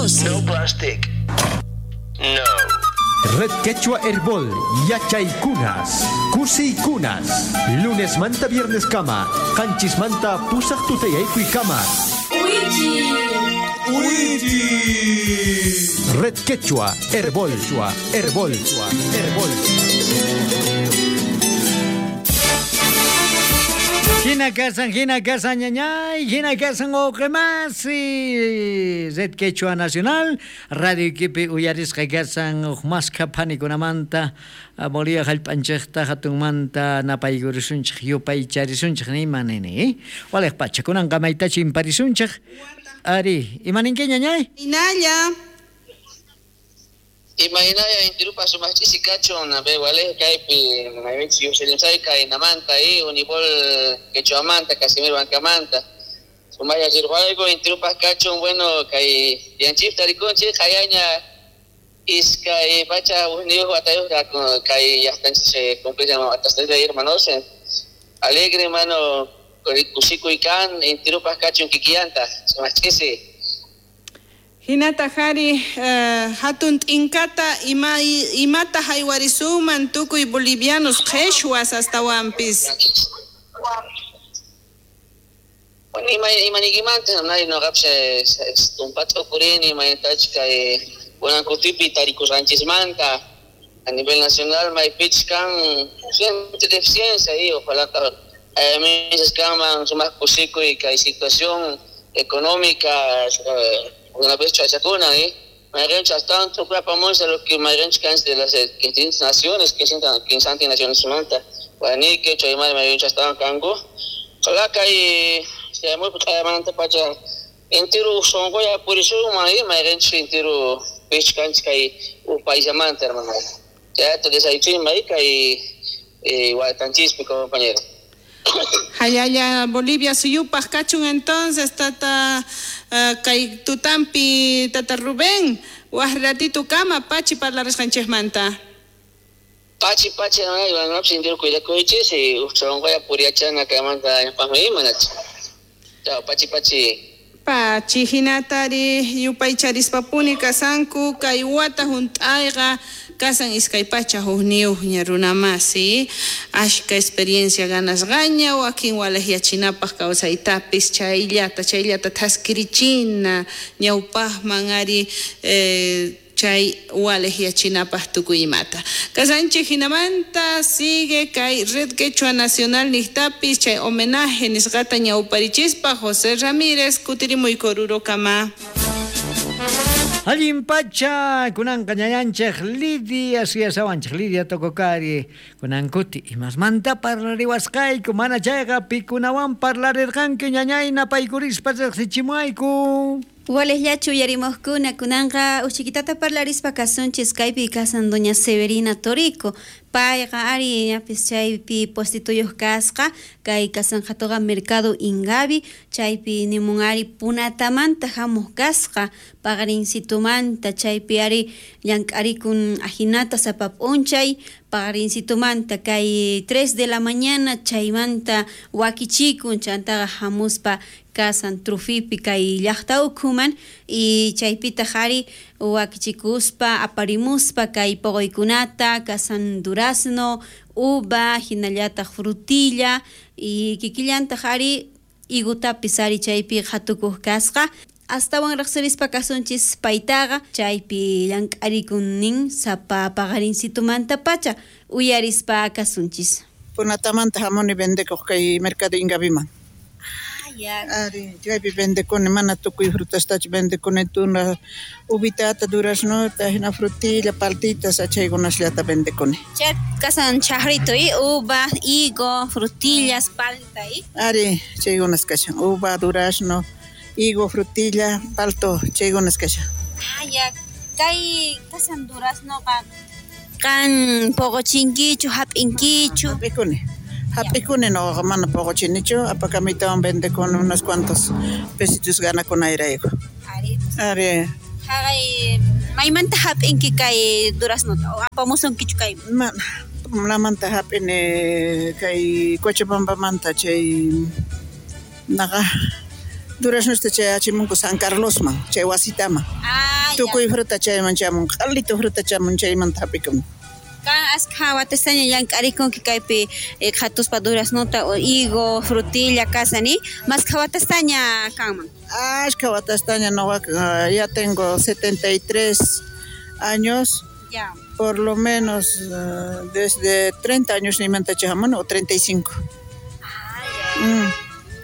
12. No plastic. No. Red Quechua Herbol, Yachaykunas, Kusiykunas, lunes manta viernes kama, qanchis manta pusaq tutayaykuy kama. Red Quechua Herbol, Herbol, Herbol. Hina kasan, ñañay, hina kasan uqimasi. Red Quechua Nacional, Radio Iquipi uyarisqa kasan uqmasqa phanikunamanta, Bolivia jallp'anchikta hatunmanta napaykurishunchik yupaycharisunchik nima nini. Waliq pacha kunanqa maytachi imparisunchik. Ari, imaninki ñañay? Inalla. Imahinaya intirupa sumachisi kachun be wale kaypi maymichi yuselinsay kaynamanta y unibol quechuamanta Casimiro Bancamanta sumaya sirhuaygo intirupa kachun bueno kay yanchip tarikunchik hayaña iskay pacha uhniyuq watayuq kay llaqtanchis cumplirhan watasta hermanos alegre mano kusikuy kan intirupa kachun kikiyanta sumachisi. Hinata hari hatun t'inkata imata haywarisuman tukuy bolivianos qheshwas astawanpis. Bueno, imanikimanta nay noqapis tumpata uqurini imaynatachus kay kunan kutipi tarikusqanchismanta a nivel nacional maypichus kan deficiencia y ojalá misas kanman sumaq kusikuy kay situación económica una vez chachacuna, ¿eh? Mayrencha tanto famosa lo que mayrencha cans de las 15 naciones que sientan 15 naciones manta. Guaraní que chaymar mayrencha estaban kango. Ojalá que se muy manta pacha entero songoya por eso mayrencha entero pech cans kai u paisamanta hermano. Ya te desayuno mai kai guatanchispi compañero. Hayaya Bolivia suyupaj kachun entonces tata kay tutampi tata Rubén waj ratito kama pachi parlarisqanchikmanta. Pachi pachi no no sindir cuidakuychis y sonqoya puriachana kaymanta ñawpaqmi imanacha. Chao pachi pachi. Pachi hinatari yupaycharispapuni kasanku kay wata hunt'ayqa kasan iskay pacha hukniyuqña runamasi ashka experiencia ganasqaña wakin walaqyachinapaq kawsaytapis chayllata thaskirichina ñawpaqman ari chay walaqyachinapaq tukuy imata. Kasanchik hinamanta sigue kay Red Quechua Nacional niqtapis chay homenaje nisqata ñawparichispa José Ramírez kutirimuy Korurokama. Allin pacha kunanqa ñañanchik Lidia suyasawanchik Lidia Tococari kunankuti imasmanta parlariwasqayku mana chayqa pikunawan parlarirqanki ñañay napaykurispa riqsichimuayku. Walellachu uyarimuqkuna kunanqa uchiquitata parlarispa kasunchis kaypi kasan doña Severina Torico payqa ari ñapis chaypi puestituyuq kasqa kay kasanqhatuqa Mercado Ingavi chaypi nimun ari punatamanta hamuq kasqa paqarinsitumanta chaypi ari llank'arikun ajinata sapa p'unchay paqarinsitumanta kay 3 de la mañana chaymanta wakichikun chantaqa hamuspa kasan trufipi kay llaqta ukhuman y chaypitaq ari wakichikuspa aparimuspa kay poqoykunata kasan durazno, uva, hinallataq frutilla y kikillantaq ari higotapis ari chaypi qhatukuq kasqa astawan riqsirispa kasunchis paytaqa chaypi llank'arikun nin sapa paqarinsitumanta pacha uyarispa kasunchis. Punatamanta hamuni vendekuq kay Mercado Ingaviman. Ari, chaypi vendekuni mana tukuy frutastachu vendekuni tuna uvitata, duraznota, hina frutilla, paltitas, chaykunasllata vendekuni. Chay kasan chahrito y uva, higo, frutillas, palta y. Ari, chaykunas kashan, uva, durazno, higo, frutilla, palto, chaykunas kashan. Ah, ya, kay kasan duraznoqa kan poqochinkichu, hap'inkichu. Hap'ikuni. Hap'ikuni noqaqa mana poqochinichu, apakamitawan vendekuni unos cuantos pesitos ganakunayrayku. Ari. Ari. Haqay maymanta hap'inki kay duraznota o apamusunkichu kay? Mana, namanta hap'ini kay Cochabambamanta chay naqa Duraznosta chayachimunku San Carlosman, chay wasitaman. Tukuy fruta chayman chamun, q'alito fruta chamun chaymanta hap'ikuni. Kan askha watastaña llank'arikunki kaypi qhatuspa duraznota o higo, frutilla kasani, maskha watastaña kanman. Askha watastaña noqaqa ya tengo 73 años. Ya. Por lo menos desde 30 años nimantacha hamuni o 35.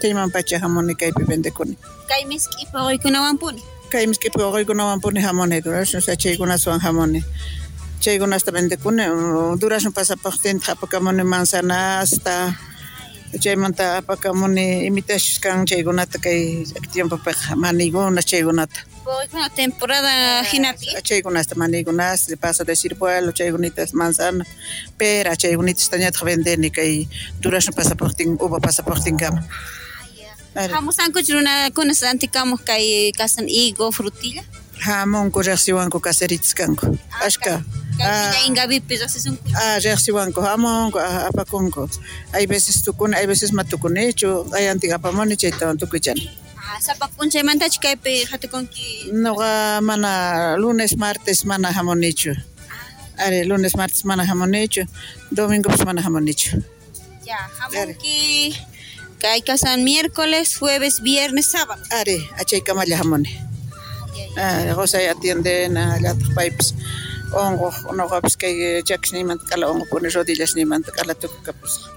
Chaymanpacha hamuni kaypi vendekuni. Kay misk'i puquykunawanpuni. Kay misk'i puquykunawanpuni hamuni, durazno chaykunaswan hamuni. Chaykunasta vendekuni, durazno pasapaqtintaq apakamuni manzanasta, chaymanta apakamuni imitachus kan chaykunata kay tiempopiqa manigunas chaykunata. Puquykuna temporada hinapi. Chaykunasta manigunas, paso de ciruelo, chaykunitas manzana, pera, chaykunitastañataq vendeni kay durazno pasapaqtin, uva pasapaqtinkama. Hamusankuchu runakuna rantikamuq kay kasan higo, frutilla? Hamunku riqsiwanku caseritas kanku. Ashka. Ingavipi riqsisunku. Riqsiwanku hamunku, apakunku. Hay veces tukuni, hay veces ma tukunichu, ayantin apamuni chaytawan tukuychani. Sapa p'unchaymantachu kaypi qhatukunki? Noqa mana lunes, martes mana hamunichu. Ari, lunes, martes mana hamunichu, domingopis mana hamunichu. Ya, hamunki kay kasan miércoles, jueves, viernes, sábado. Ari, achaykamalla hamuni. Qusay atiendena, llataq paypis unquq, noqapis kay chakisniymanta k'ala unqukuni, rodillasniymanta k'ala tukukapusqa.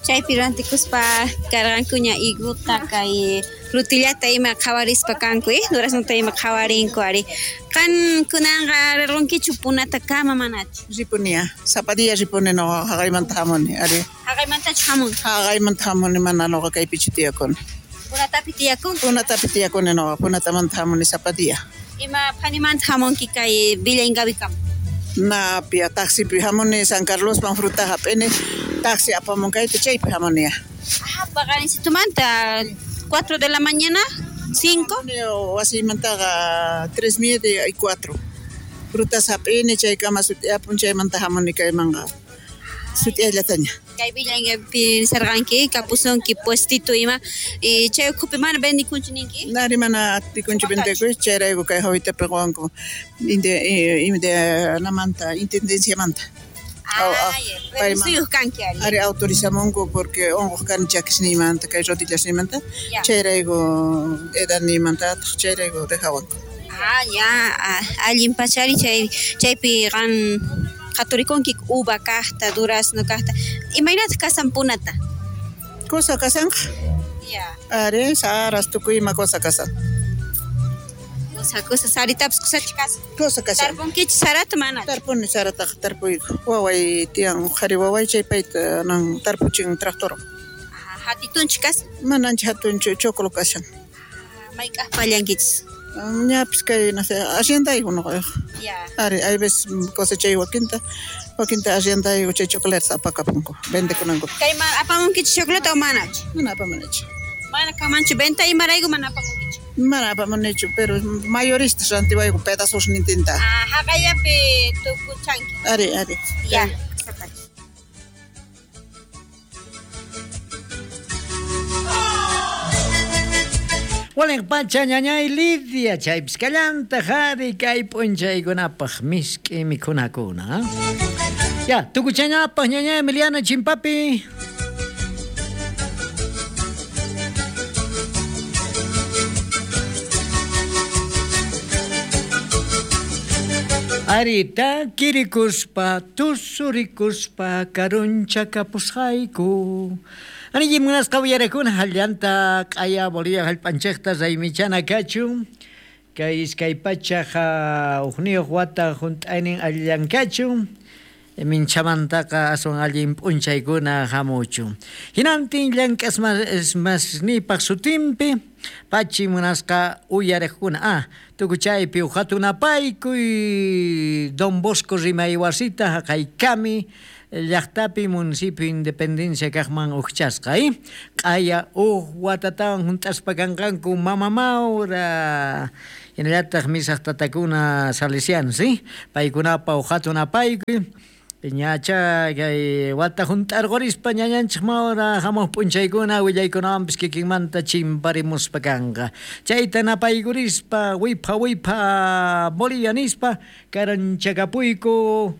Chaypi rantikuspa karqankuña higuta kay frutillata ima qhawarispa kanku, duraznota ima qhawarinku ari. Qan kunanqa rirqunkichu Punatakama manachu? Ripuniya, sapa día ripuni noqa haqaymanta hamuni, ari. Haqaymantachu hamunki? Haqaymanta hamuni mana noqa kaypichu tiyakuni. Punatapi tiyakunki? Punatapi tiyakuni noqa, Punatamanta hamuni sapa día. Ima phanimanta hamunki kay Villa Ingavikama? Napia, taxipi hamuni San Carlosman fruta hap'ini, taxi apamun kayta chaypi hamuniya. Paqarinsitumanta 4 de la mañana, 5. Wasiymantaqa 3:30 y 4. Frutas hap'ini chaykama sut'iyapun chaymanta hamuni kaymanqa. Sut'iyallataña. Kay Villa Ingavipi nisarqanki, kapusunki puestito ima, y chay ukhupi mana vendikunchu ninki? Nari mana atikunchu vendekuy, chayrayku kay jawitapi qowanku namanta, intendenciamanta. Permisuyuq kanki ari. Ari autorizamunku porque unquq kani chakisniymanta, kay rodillasniymanta, chayrayku edadniymantataq chayrayku dejawanku. Ya, allin pachari chaypi qan qhaturikunki uva kaqta, durazno kaqta. Imaynataq kasan Punata? Cosa kasanqa. Ya. Ari, saras tukuy ima cosa kasan. Cosa saritapas kusachu kasan. Cosa kasan. Tarpunkichu sarata manachu? Tarpuni sarataqa tarpuyku. Waway tiyan qhari waway chay payta nan tarpuchin tractor. Hatitunchu kasan? Mana ancha hatunchu, choclo kasan. Mayk'aq pallankichis? Ñapis kay, no sé, arriendayku noqayqa. Ya. Ari, hay veces cosechay wakinta, wakinta arriendayku chay chocolates apakapunku, vendekunanku. Kayman apamunkichu chocolate o manachu? Mana apamunichu. Mana kamanchu venta imarayku mana apamunkichu? Mana apamunichu, pero mayoristas rantiwayku pedazos nintinta. Haqallapi tukuchanki. Ari, ari. Ya. Walin pacha ñañay Lidia chaypis kallanta jari kay p'unchaykunapaq misk'i mikhunakuna. Ya, tukuchañapaq ñañay Emiliana Chimpapi. Arita kirikuspa tusurikuspa karunchakapusqayku. Ani munasqa uyarakuna hallanta q'aya Bolivia hallp'anchikta raymichana kachun. Kay iskay pachaqa uqniyuq wata hunt'aynin allankachu. Minchamantaqa aswan allin p'unchaykuna hamuchun. Hinantin llank'asmasnipaq sutinpi pachi munasqa uyariqkuna. Tukuchaypi uqhatunapaykuy Don Bosco rimaywasita haqaykami llaqtapi municipio Independencia kaqman uqchasqa, q'aya uq watatawan hunt'aspa kanqanku Mama Maura hinallataq misaq tatakuna salesianos, paykunapa uqhatunapaykuy. Ñacha kay wata hunt'arqurispa ñañanchik mawra hamuq p'unchaykuna willaykunawanpis kikinmanta chimparimuspa kanqa. Chayta napaykurispa wipha wipha Bolivia nispa karanchakapuyku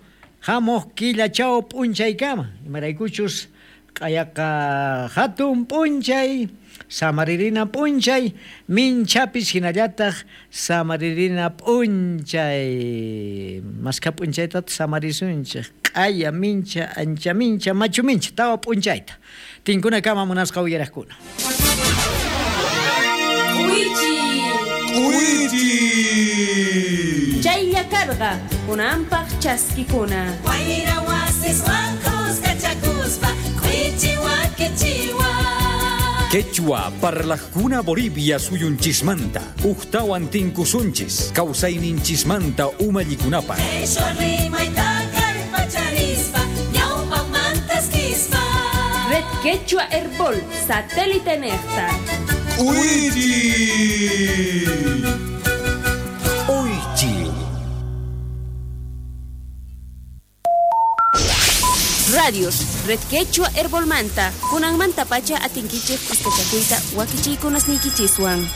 hamuq killachaw p'unchaykama. Imaraykuchus q'ayaqa hatun p'unchay samaririna p'unchay minchapis hinallataq samaririna p'unchay. Maskha p'unchaytataq samarisunchik q'aya mincha ancha mincha machu mincha tawa p'unchayta. Tinkunakama munasqa uyaraqkuna. K'uichi. Chaylla karqa kunanpaq chaskikuna. Wayra wasiswan kuskachakuspa k'uichi wakichiwa. Quechua parlajkuna Bolivia suyunchismanta ujtawan tinkusunchis kawsayninchismanta umallikunapaq. Qhishwa rimayta kallpacharispa ñawpaqmantaskispa. Red Quechua Herbol, satélite nejta. K'uichi. Oychi. Radios, Red Quechua Herbolmanta, kunanmanta pacha atinkichik kuskachakuyta wakichiykunasniykichiswan.